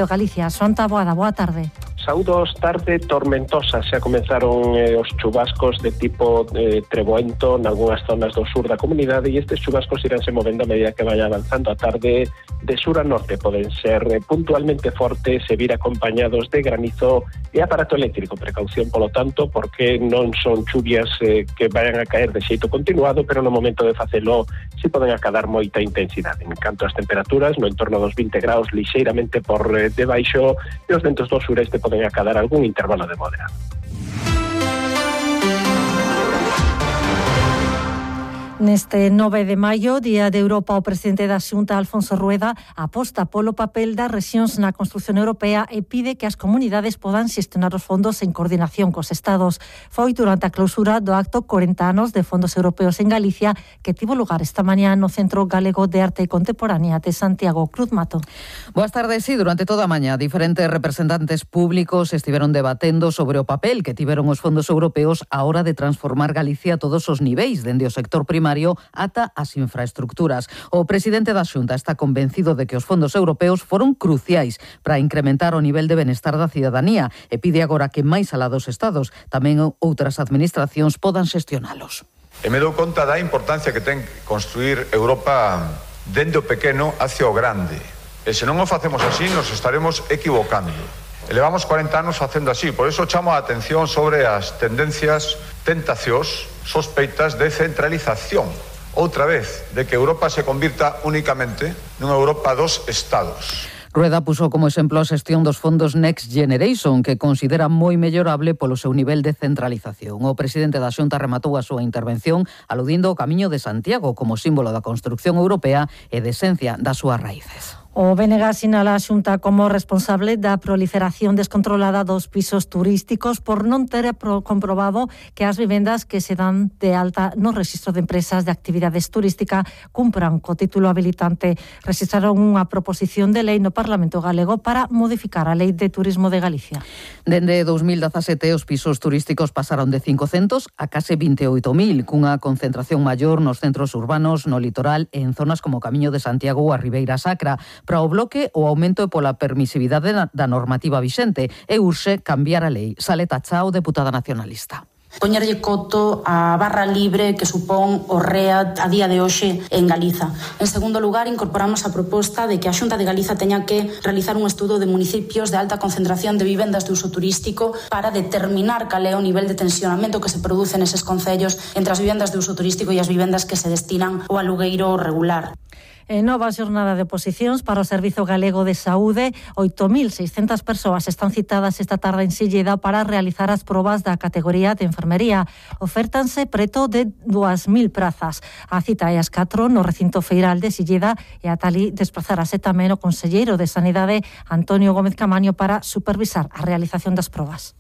Galicia, Xonta Boada, boa tarde. Saúdos, tarde tormentosa. Xa comenzaron os chubascos de tipo treboento nalgúnas zonas do sur da comunidade, e estes chubascos iránse movendo a medida que vaya avanzando a tarde de sur a norte. Poden ser puntualmente fortes e vir acompañados de granizo e aparato eléctrico. Precaución, polo tanto, porque non son chuvias que vayan a caer de xeito continuado, pero no momento de facelo si poden acadar moita intensidade. En canto ás temperaturas, no entorno dos 20 graus, lixeiramente por debaixo, e os ventos do sureste poden acadar algún intervalo de moderado. Neste 9 de maio, Día de Europa, o presidente da Xunta, Alfonso Rueda, aposta polo papel das rexións na construción europea e pide que as comunidades podan xestionar os fondos en coordinación cos estados. Foi durante a clausura do acto 40 anos de fondos europeos en Galicia, que tivo lugar esta mañá no Centro Galego de Arte Contemporánea de Santiago. Cruz Mato. Boas tardes. Sí, durante toda a mañá, diferentes representantes públicos estiveron debatendo sobre o papel que tiveron os fondos europeos á hora de transformar Galicia a todos os niveis, dende o sector primario ata as infraestructuras. O presidente da Xunta está convencido de que os fondos europeos foron cruciais para incrementar o nivel de benestar da cidadanía e pide agora que máis alá dos estados tamén outras administracións podan xestionalos. E me dou conta da importancia que ten construir Europa dende o pequeno hacia o grande. E se non o facemos así, nos estaremos equivocando. E levamos 40 anos facendo así, por eso chamo a atención sobre as tendencias, tentacións, sospeitas de centralización. Outra vez, de que Europa se convirta únicamente nunha Europa dos Estados. Rueda puso como exemplo a xestión dos fondos Next Generation, que considera moi mellorable polo seu nivel de centralización. O presidente da Xunta rematou a súa intervención aludindo ao Camiño de Santiago como símbolo da construción europea e de esencia das súas raíces. O BNG sinala a Xunta como responsable da proliferación descontrolada dos pisos turísticos por non ter comprobado que as vivendas que se dan de alta no rexistro de empresas de actividades turística cumpran co título habilitante. Registraron unha proposición de lei no Parlamento Galego para modificar a Lei de Turismo de Galicia. Dende 2017 os pisos turísticos pasaron de 500 a case 28.000, cunha concentración maior nos centros urbanos, no litoral e en zonas como Camiño de Santiago ou a Ribeira Sacra. Para o bloque, o aumento é pola permisividade da normativa vixente e urxe cambiar a lei. Saleta Chao, deputada nacionalista. Poñerlle coto a barra libre que supón o REA a día de hoxe en Galiza. En segundo lugar, incorporamos a proposta de que a Xunta de Galiza teña que realizar un estudo de municipios de alta concentración de vivendas de uso turístico para determinar cal é o nivel de tensionamento que se produce neses concellos entre as vivendas de uso turístico e as vivendas que se destinan ao alugueiro regular. En nova xornada de oposicións para o Servizo Galego de Saúde, 8.600 persoas están citadas esta tarde en Silleda para realizar as probas da categoría de enfermería. Ofértanse preto de 2.000 prazas. A cita é ás 4 no recinto feiral de Silleda e ata ali desplazarase tamén o conselleiro de Sanidade, Antonio Gómez Camaño, para supervisar a realización das probas.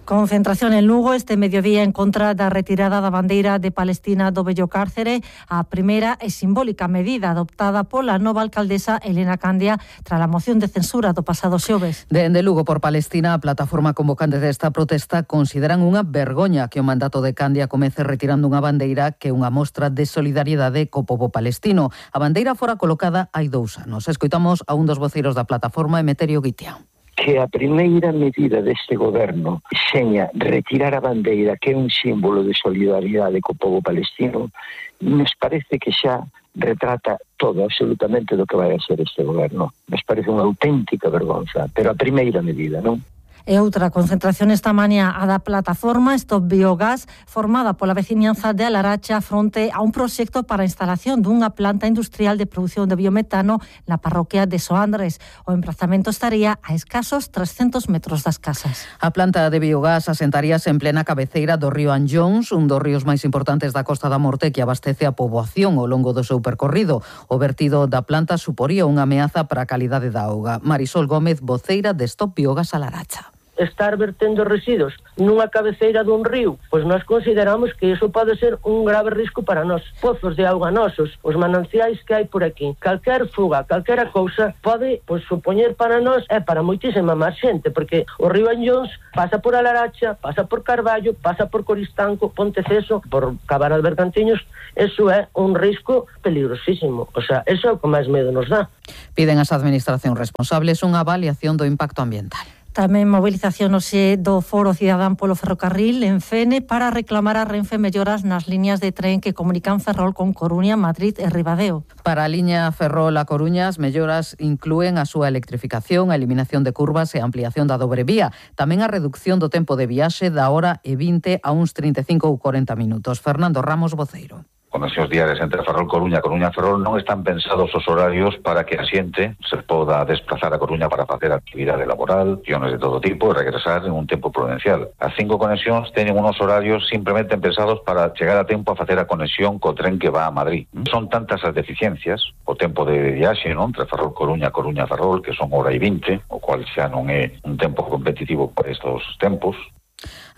Concentración en Lugo este mediodía en contra da retirada da bandeira de Palestina do vello cárcere, a primeira e simbólica medida adoptada pola nova alcaldesa Elena Candia tras a moción de censura do pasado xoves. Dende Lugo por Palestina, a plataforma convocante desta protesta consideran unha vergoña que o mandato de Candia comece retirando unha bandeira que é unha mostra de solidariedade co pobo palestino. A bandeira fora colocada hai 2 anos. Escoitamos a un dos voceiros da plataforma, Emeterio Guitián. Que a primeira medida deste goberno seña retirar a bandeira, que é un símbolo de solidariedade co pobo palestino, nos parece que xa retrata todo, absolutamente, do que vai a ser este goberno. Nos parece unha auténtica vergonza, pero a primeira medida, non? E outra concentración esta mañá a da plataforma Stop Biogás, formada pola veciñanza de Alaracha fronte a un proxecto para a instalación dunha planta industrial de produción de biometano na parroquia de Soandres. O emprazamento estaría a escasos 300 metros das casas. A planta de biogás asentaríase en plena cabeceira do río Anllóns, un dos ríos máis importantes da Costa da Morte que abastece a poboación ao longo do seu percorrido. O vertido da planta suporía unha ameaza para a calidade da auga. Marisol Gómez, voceira de Stop Biogás Alaracha. estar vertendo residuos nunha cabeceira dun río, pois nós consideramos que iso pode ser un grave risco para nós. Pozos de auga nosos, os mananciais que hai por aquí, calquer fuga, calquera cousa pode supoñer para nós e para moitísima máis xente, porque o río Anllóns pasa por Alaracha, pasa por Carballo, pasa por Coristanco, Ponteceso, por Cabana de Bergantiños. Eso é un risco peligrosísimo. O sea, eso é o que máis medo nos dá. Piden ás administracións responsables unha avaliación do impacto ambiental. Tamén movilización hoxe do Foro Cidadán polo Ferrocarril en Fene para reclamar a Renfe melloras nas liñas de tren que comunican Ferrol con Coruña, Madrid e Ribadeo. Para a liña Ferrol a Coruña, as melloras inclúen a súa electrificación, a eliminación de curvas e a ampliación da dobre vía. Tamén a reducción do tempo de viaxe da hora e 20 a uns 35 ou 40 minutos. Fernando Ramos, voceiro. Conexións diarias entre Ferrol Coruña e Coruña Ferrol non están pensados os horarios para que a xente se poda desplazar a Coruña para facer actividade laboral, acciones de todo tipo e regresar en un tempo prudencial. As 5 conexións teñen unos horarios simplemente pensados para chegar a tempo a facer a conexión co tren que va a Madrid. Son tantas as deficiencias, o tempo de viaxe, non, entre Ferrol Coruña e Coruña Ferrol, que son hora e 20, o cual xa non é un tempo competitivo por estos tempos.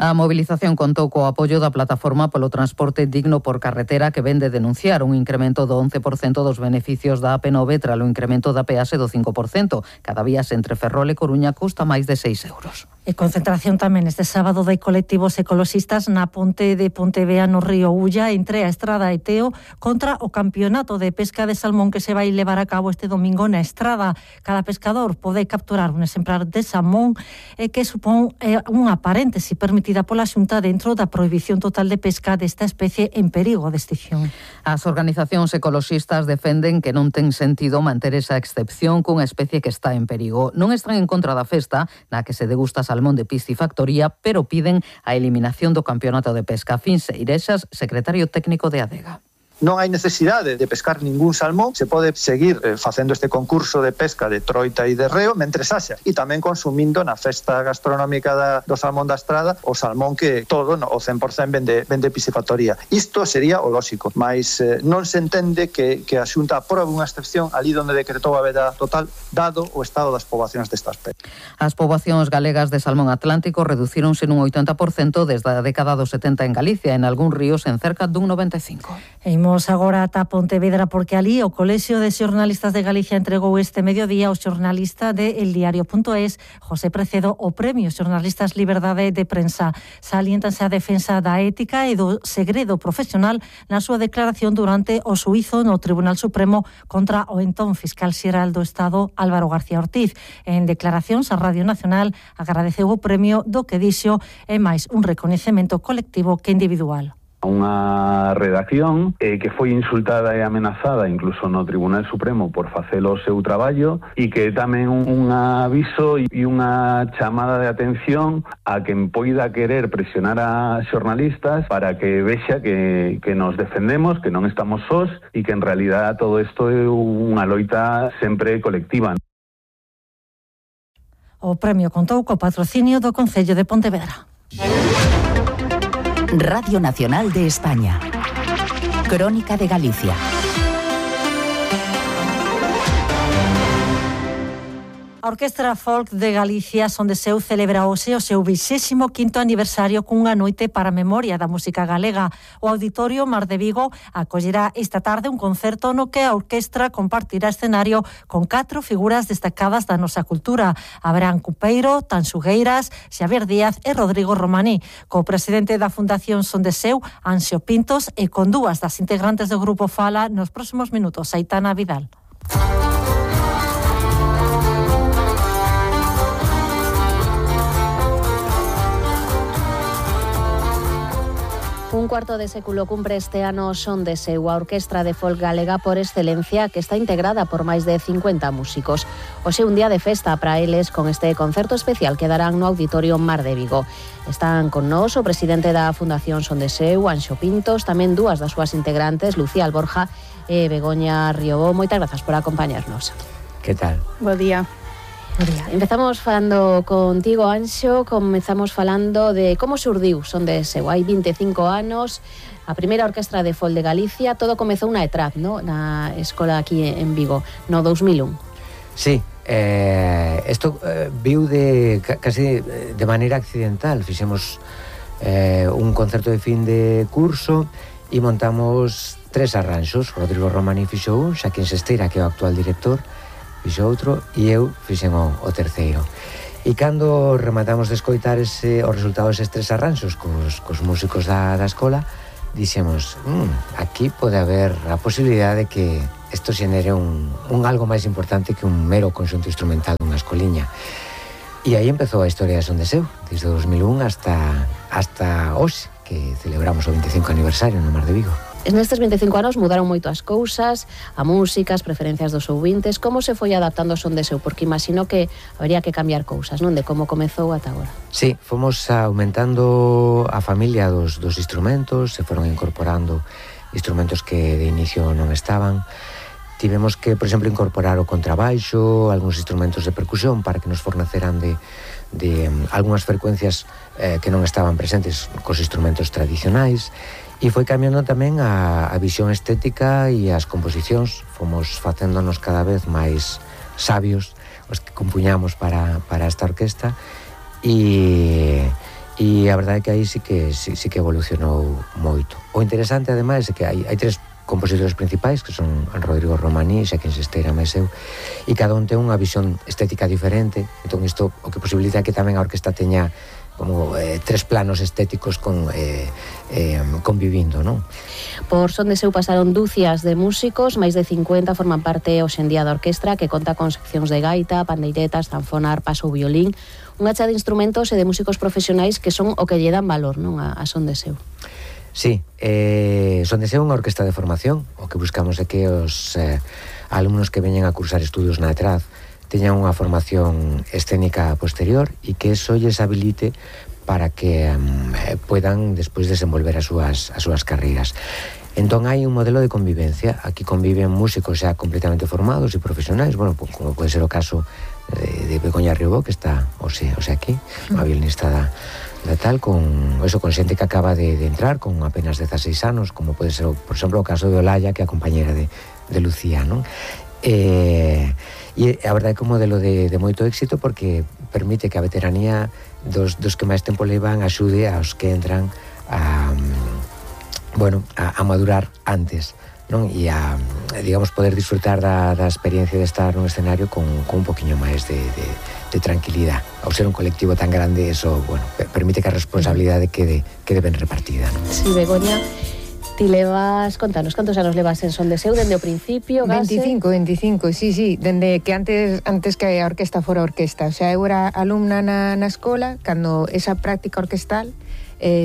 A movilización contou co apoio da Plataforma polo Transporte Digno por Carretera, que vende denunciar un incremento do 11% dos beneficios da AP9 tras o incremento da peaxe do 5%. Cada vías entre Ferrol e Coruña custa máis de 6 euros. E concentración tamén este sábado de colectivos ecoloxistas na ponte de Pontevea no río Ulla entre a Estrada e Teo contra o campeonato de pesca de salmón que se vai levar a cabo este domingo na Estrada. Cada pescador pode capturar un exemplar de salmón que supón unha paréntese permitida pola Xunta dentro da prohibición total de pesca desta especie en perigo de extinción. As organizacións ecoloxistas defenden que non ten sentido manter esa excepción cunha especie que está en perigo. Non están en contra da festa na que se degusta salmón de piscifactoría, pero piden a eliminación do campeonato de pesca. Fin Seirexas, secretario técnico de ADEGA. Non hai necesidade de pescar ningún salmón, se pode seguir facendo este concurso de pesca de troita e de reo mentres haxa, e tamén consumindo na festa gastronómica do salmón da Estrada o salmón que todo, o 100% vende piscifactoría. Isto sería o lóxico, mas non se entende que a Xunta aprobe unha excepción ali onde decretou a veda total dado o estado das poboacións desta especie. As poboacións galegas de salmón atlántico reducíronse nun 80% desde a década dos 70 en Galicia, en algúns ríos en cerca dun 95%. Imos agora ata Pontevedra porque ali o Colexio de Xornalistas de Galicia entregou este mediodía ao xornalista de eldiario.es, José Precedo, o Premio Xornalistas Liberdade de Prensa. Saliéntanse a defensa da ética e do segredo profesional na súa declaración durante o xuízo no Tribunal Supremo contra o entón fiscal xeral do Estado, Álvaro García Ortiz. En declaracións a Radio Nacional agradeceu o premio do que dixo é máis un recoñecemento colectivo que individual. Unha redacción que foi insultada e amenazada incluso no Tribunal Supremo por facer o seu traballo e que tamén un aviso e unha chamada de atención a quen poida querer presionar a xornalistas para que vexa que nos defendemos, que non estamos sós e que en realidad todo isto é unha loita sempre colectiva. O premio contou co patrocinio do Concello de Pontevedra. Radio Nacional de España. Crónica de Galicia. A Orquestra Folk de Galicia Son de Seu celebra hoxe o seu 25º aniversario cunha noite para a memoria da música galega. O Auditorio Mar de Vigo acollerá esta tarde un concerto no que a orquestra compartirá escenario con 4 figuras destacadas da nosa cultura: Abraham Cupeiro, Tanxugueiras, Xavier Díaz e Rodrigo Romaní, co presidente da Fundación Son de Seu, Anxo Pintos, e con dúas das integrantes do grupo Fala nos próximos minutos, Aitana Vidal. Un cuarto de século cumpre este ano Son de Seu, a orquestra de folk galega por excelencia que está integrada por máis de 50 músicos. Hoxe un día de festa para eles con este concerto especial que darán no Auditorio Mar de Vigo. Están con nós o presidente da Fundación Son de Seu, Anxo Pintos, tamén dúas das súas integrantes, Lucía Alborja e Begoña Riobó. Moitas grazas por acompañarnos. Que tal? Bo día. Empezamos falando contigo, Anxo, comezamos falando de como surdiu Son de Seu. Hai 25 anos, a primeira orquestra de folk de Galicia, todo comezou na ETRAP, no? Na escola aquí en Vigo, no 2001. Sí, Isto viu casi de maneira accidental. Fixemos un concerto de fin de curso e montamos 3 arranxos. Rodrigo Romaní fixo un, Xaquín Sesteira, que é o actual director, fixo outro, e eu fixen o terceiro. E cando rematamos de escoitar os resultados destes 3 arranxos cos músicos da escola, dixemos, aquí pode haber a posibilidade de que isto xenere un algo máis importante que un mero conxunto instrumental dunha escoliña. E aí empezou a historia de Son de Seu, desde 2001 hasta hoxe, que celebramos o 25 aniversario no Mar de Vigo. Nestes 25 anos mudaron moito as cousas, a música, as preferencias dos ouvintes. Como se foi adaptando o Son de Seu? Porque imagino que habería que cambiar cousas, non? De como comezou ata agora. Sí, fomos aumentando a familia dos instrumentos, se foron incorporando instrumentos que de inicio non estaban. Tivemos que, por exemplo, incorporar o contrabaixo, algúns instrumentos de percusión para que nos forneceran de algunhas frecuencias que non estaban presentes cos instrumentos tradicionais. E foi cambiando tamén a visión estética e as composicións. Fomos facéndonos cada vez máis sabios os que compuñamos para esta orquesta e a verdade é que aí sí que evolucionou moito. O interesante, ademais, é que hai 3 compositores principais, que son Rodrigo Romaní, Xaquín Sesteira, máis eu, e cada un ten unha visión estética diferente. Entón isto o que posibilita que tamén a orquesta teña como 3 planos estéticos convivindo, non? Por Son de Seu pasaron dúcias de músicos, máis de 50 forman parte hoxe en día da orquestra, que conta con seccións de gaita, pandeiretas, zanfona, arpas ou violín, unha chea de instrumentos e de músicos profesionais que son o que lle dan valor, non, a Son de Seu. Sí, Son de Seu é unha orquesta de formación. O que buscamos é que os alumnos que veñen a cursar estudios na ETRAD teñan unha formación escénica posterior e que eso lles habilite para que puedan despois desenvolver as súas carreiras. Entón hai un modelo de convivencia. Aquí conviven músicos xa completamente formados e profesionais, bueno, como pode ser o caso de Begoña Riobó, que está hoxe aquí, unha violinista da tal, con xente que acaba de entrar con apenas 16 anos, como pode ser, por exemplo, o caso de Olaya, que é a compañera de Lucía, non? E a verdade é que é un modelo de moito éxito, porque permite que a veteranía dos que máis tempo levan axude aos que entran a madurar antes, non? E a, digamos, poder disfrutar da experiencia de estar nun escenario con un poquinho máis de tranquilidade. Ao ser un colectivo tan grande, eso, bueno, permite que a responsabilidade quede ben repartida, non? Sí, Begoña, ti levas, contanos, cantos anos levas en Son de Seu, dende o principio? 25, sí, dende que antes que a orquesta fora orquesta. O sea, eu era alumna na escola, cando esa práctica orquestal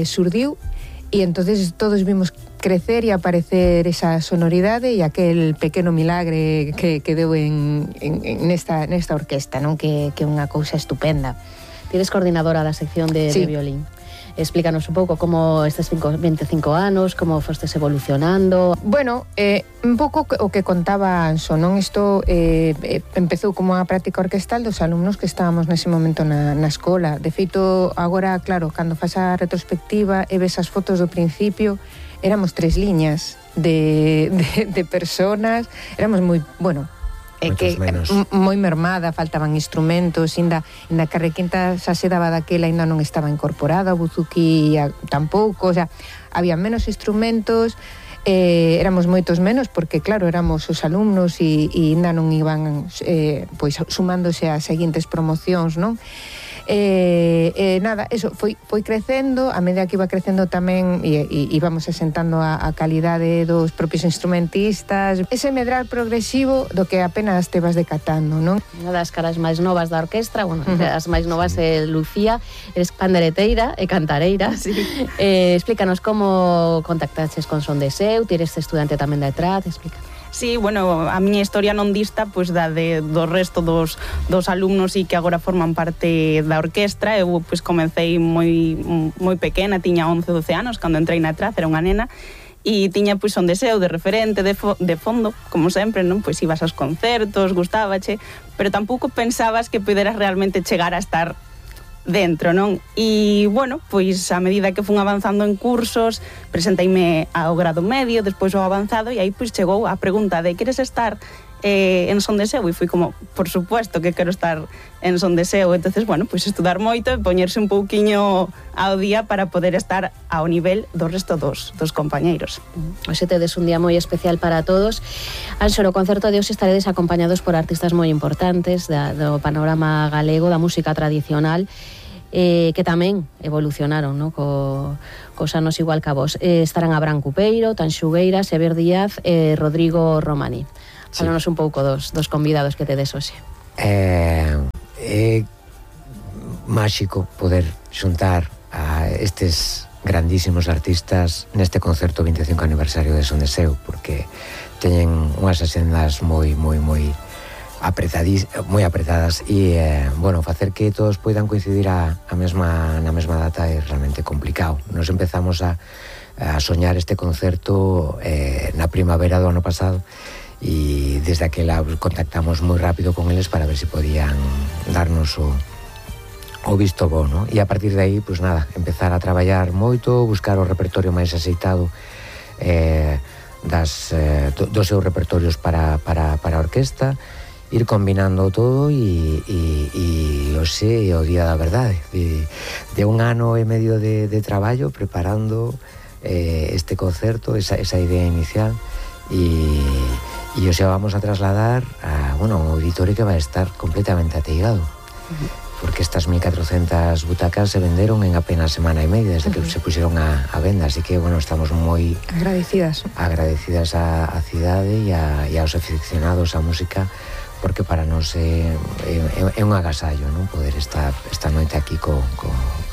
surdiu, e entonces todos vimos crecer e aparecer esa sonoridade e aquel pequeno milagre que deu nesta orquesta, non? Que é unha cousa estupenda. Ti eres coordinadora da sección de violín. Explícanos un pouco como estes 25 anos, como fostes evolucionando. Bueno, un pouco o que contaba Anxo, non? Isto empezou como unha práctica orquestal dos alumnos que estábamos nese momento na escola. De feito, agora, claro, cando faz a retrospectiva e ves as fotos do principio, éramos 3 liñas de personas, éramos moi, bueno, que moi mermada, faltaban instrumentos, inda que a requinta xa se daba daquela ainda non estaba incorporada, o buzuki tampouco, o sea, había menos instrumentos, éramos moitos menos porque claro, éramos os alumnos e ainda non iban pois sumándose ás seguintes promocións, non? Nada, eso foi crecendo, a medida que iba crecendo tamén e íbamos asentando a calidade dos propios instrumentistas, ese medrar progresivo do que apenas te vas decatando, non? Unha das caras máis novas da orquestra, bueno, as máis novas é Lucía, eres pandereteira e cantareira. Sí. Explícanos como contactaches con Son de Seu, ti eres estudante tamén da ETRAD, explícanos. Sí, bueno, a miña historia non dista pois da do resto dos alumnos e que agora forman parte da orquestra. Eu pois comecei moi pequena, tiña 11, 12 anos cando entrei na ETRAD, era unha nena e tiña pois Son de Seu de referente, de fondo, como sempre, non? Pois ibas aos concertos, gustábache, pero tampouco pensabas que poderas realmente chegar a estar dentro, non? E, bueno, pois a medida que fun avanzando en cursos, presenteime ao grado medio, despois ao avanzado, e aí pois chegou a pregunta de queres estar en Son de Seu, e fui como, por supuesto que quero estar en Son de Seu. Entonces, bueno, pois estudar moito e poñerse un pouquiño ao día para poder estar ao nivel do resto dos compañeiros. Hoxe tedes un día moi especial para todos. Anxo, no concerto de hoxe estaredes acompañados por artistas moi importantes do panorama galego, da música tradicional, que tamén evolucionaron, no? Cos anos igual que a vos. Estarán Abraham Cupeiro, Tanxugueira, Xavier Díaz e Rodrigo Romani. Fálanos un pouco dos convidados que tedes hoxe. É máxico poder xuntar a estes grandísimos artistas neste concerto 25 aniversario de Son de Seu, porque teñen unhas axendas moi apretadas e, bueno, facer que todos poidan coincidir na mesma data é realmente complicado. Nos empezamos a soñar este concerto na primavera do ano pasado e desde aquela contactamos moi rápido con eles para ver se podían darnos o visto bo, no? E a partir de aí, pois nada, empezar a traballar moito, buscar o repertorio máis axeitado dos seus repertorios para a orquesta, ir combinando todo e hoxe o día da verdade de un ano e medio de traballo preparando este concerto, esa idea inicial e hoxe vamos a trasladar a un auditorio que vai estar completamente ateigado, porque estas 1.400 butacas se venderon en apenas semana e media desde que se puxeron a venda, así que, bueno, estamos moi agradecidas á cidade e aos aficionados á música, porque para nós é un agasallo, non? Poder estar esta noite aquí co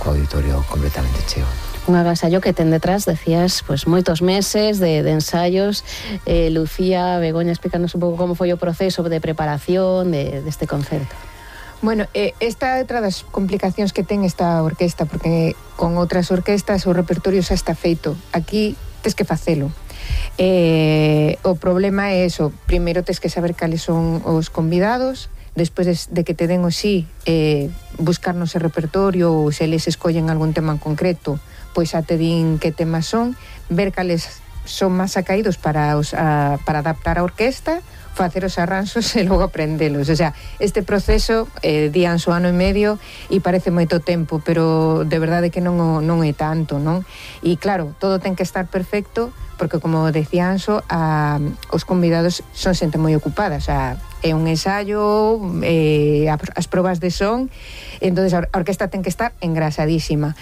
auditorio completamente cheo. Un agasallo que ten detrás, decías, pues moitos meses de ensayos. Lucía, Begoña, explícanos un pouco como foi o proceso de preparación deste concerto. Bueno, esta é outra das complicacións que ten esta orquesta, porque con outras orquestas o repertorio xa está feito. Aquí tes que facelo. O problema é eso, primeiro tes que saber cales son os convidados, despois de que te den o sí, buscar no ese repertorio, ou se eles escollen algún tema en concreto, pois xa te din que temas son, ver cales son máis acaídos para adaptar a orquesta, facer os arranxos e logo aprendelos. O sea, este proceso di Anxo ano e medio e parece moito tempo, pero de verdade que non é tanto, non? E claro, todo ten que estar perfecto, porque como decía Anxo, os convidados son xente moi ocupada, o sea, é un ensayo, as probas de son, entonces a orquesta ten que estar engrasadísima.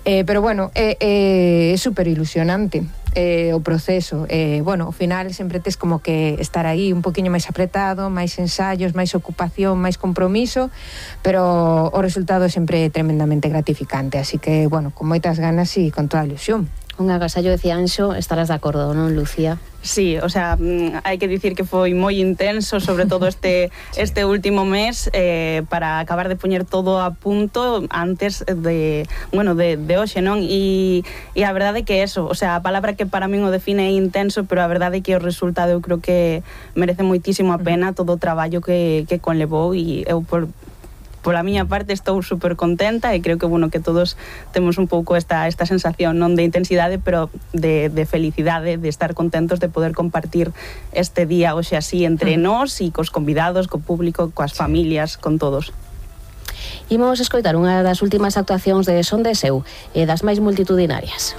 Pero bueno, é super ilusionante o proceso. Bueno, ao final sempre tes como que estar aí un poquinho máis apretado, máis ensayos, máis ocupación, máis compromiso, pero o resultado é sempre tremendamente gratificante, así que, bueno, con moitas ganas e con toda a ilusión. Un agasallo, decía Anxo, estarás de acordo, non, Lucía? Sí, o sea, hai que dicir que foi moi intenso, sobre todo este último mes, para acabar de poñer todo a punto antes de hoxe, non? E a verdade é que eso, o sea, a palabra que para min o define é intenso, pero a verdade é que o resultado eu creo que merece moitísimo a pena todo o traballo que conlevou, e eu pola miña parte estou super contenta e creo que, bueno, que todos temos un pouco esta sensación non de intensidade, pero de felicidade, de estar contentos de poder compartir este día hoxe así entre nós e cos convidados, co público, coas familias, con todos. Imos escoitar unha das últimas actuacións de Son de Seu e das máis multitudinarias.